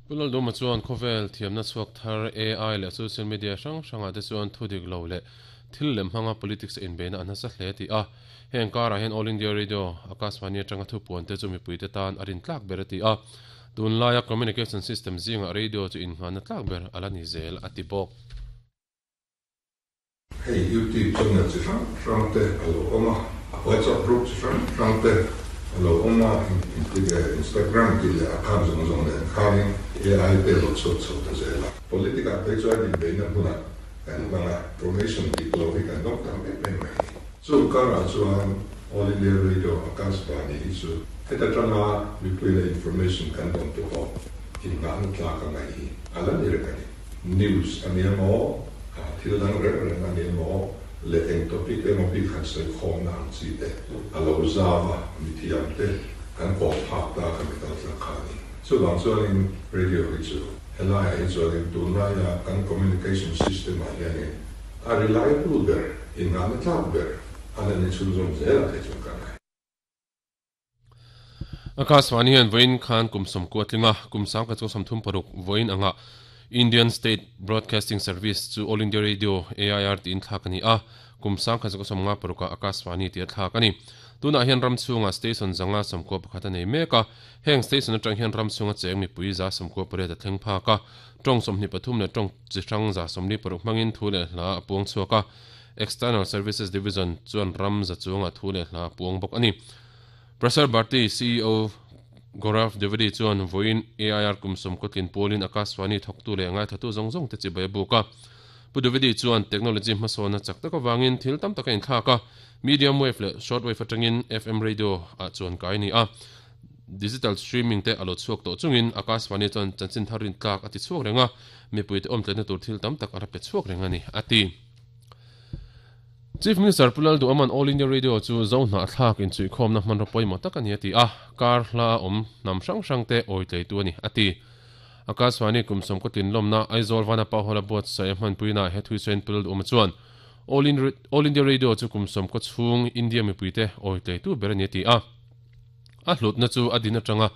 Pu Lalduma chuan khawvel thiamna chhuak thar AI leh social media hrang hrangah te chuan thu dik lo leh thil lem hmanga politics a inbeihna a nasa hle tih a, heng karah hian All India Radio, Akashvani atanga thupuan te chu mipuite tan a rintlak ber a ti a, tunlaia communication system zingah radio chu innghahna tlak ber a la ni zel a ti bawk. Hei YouTube channel chi hrang hrang te a lo awm a, WhatsApp group chi hrang hrang te a lo awm a, Instagram tih leh account zawng zawng nen khanin AI te a lo chhuak chho ta zel a. Politic ah phei chuan inbeihna hmunah kan hmang a, information dik lo hi kan dawng tam em em mai. Chung karah chuan All India Radio Akashvani hi chu heta tanga mipui leh information kan dawn te pawh innghahna tlak a ngaih hi a la ni reng a ni. News a nia maw? Thil dang reng reng a nia maw? Leh eng topic emaw bik han sawi khawmna ang chi te a lo zau a, mithiam te kan kawm phak ta kha mi kal tlak kha a ni. Chuvang chuanin radio hi chu helaiah hi chuanin tunlaia kan communication system ah hianin a reliable ber, innghahna tlak ber a la ni chhunzawm zel ang thei chuan ka ngai. Akashvani hian vawiin khan kum sawmkua tling a, kum sangkhat chu 36 vawiin anga Indian State Broadcasting Service chu All India Radio, AIR, tiin thlak a ni a, kum sangkhat chu 56 ah Akashvani tia thlak a ni. Tunah hian ram chhungah station 591 a nei mek a, heng station atang hian ram chhunga cheng mipui 98 a thleng phak a, tawng 23 leh tawng chi hrang 76 hmangin thu leh hla a puang chhuak a, External Services Division chuan ram za chungah thu leh hla a puang bawk a ni. Prasar Bharti ceo Gaurav Dwivedi chuan vawiin AIR kum sawmkaw tlin pawlin Akashvani thawktu leh ngaithatu zawng zawng te chibai a buk a. Pu Dwivedi chuan technology hmasawnna chak tak avangin thil tam tak a inthlak a, medium wave leh short wave atangin FM radio ah chuan kai a ni a, digital streaming te a lo chhuak tawh chungin Akashvani chuan chanchin thar rintlak a ti chhuak reng a, mipuite awmtletna tur thil tam tak a la pe chhuak reng a ni, a ti. Chief Minister Pu Lalduhawma'n All India Radio chu Zo hnahthlak inchhuihkhawmna hmanraw pawimawh tak a ni a ti a, kar hla a awm hnam hrang hrang te awitleitu a ni, a ti. Akashvani kum sawmkaw tlinlawmna Aizawl Vanapa Hall a buatsaih a hmanpuinaah he thuisawiin Pu Lalduhawma chuan All India Radio chu kum sawmkaw chhung India mipuite awitleitu ber a ni a ti a, a hlutna chu a din atanga.